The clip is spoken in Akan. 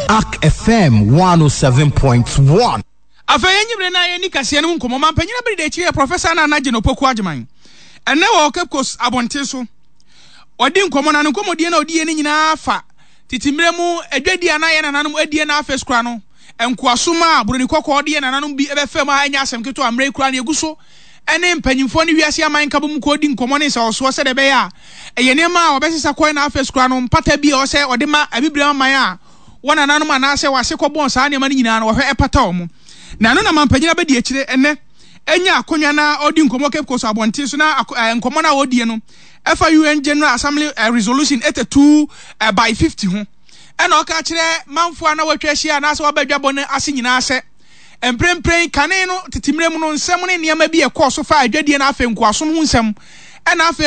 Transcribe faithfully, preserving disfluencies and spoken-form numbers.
Ark F M one oh seven point one. Afei yɛnyi na yɛni kaseɛ no mu nkɔmmɔ. Mampanyin abere de akyiri yɛ Professor Nana Jane Opoku Agyeman. Ɛnɛ wɔ Cape Coast abɔnten so, ɔdi nkɔmmɔ, na ne nkɔmmɔdie na ɔdi yɛ no nyinaa fa tete mmerɛ mu adwadie a na yɛ nananom adie, na afei kora no nkoasom a buroni kɔkɔɔ de yɛ nananom bi bɛfɛ mu a ɛnyɛ asɛm ketewa. Mmerɛ yi kora no yɛgu so ɛne mpanyinfoɔ ne wiase aman nka bɔ mu kɔ di nkɔmmɔ ne nsawɔsoɔ sɛdeɛ ɛbɛyɛ a ɛyɛ nneɛma a wɔbɛsesa kɔɛ, na afei kora no mpata bi a ɔsɛ ɔde ma Abibire aman a wɔn nananom anaasɛ wɔase kɔbɔn saa nneɛma no nyinaa no, wɔhwɛ ɛpata wɔn. Na ɛno na mampanyin abɛdi akyire ɛnɛ ɛnya akonnwa na ɔdi nkɔmmɔ Cape Coast abɔnten so. Na nkɔmmɔ no a wɔdie no ɛfa U N General Assembly uh, resolution eighty-two uh, by fifty ho, ɛna ɔka kyerɛ manfoɔ a na wɔatwa ahyia anaasɛ wɔaba adwabɔ no ase nyinaa sɛ mprempren kane no tete mmerɛ mu no, nsɛm ne nneɛma bi ɛkɔɔ so fa adwadie no, afei nkoasom ho nsɛm, ɛna afei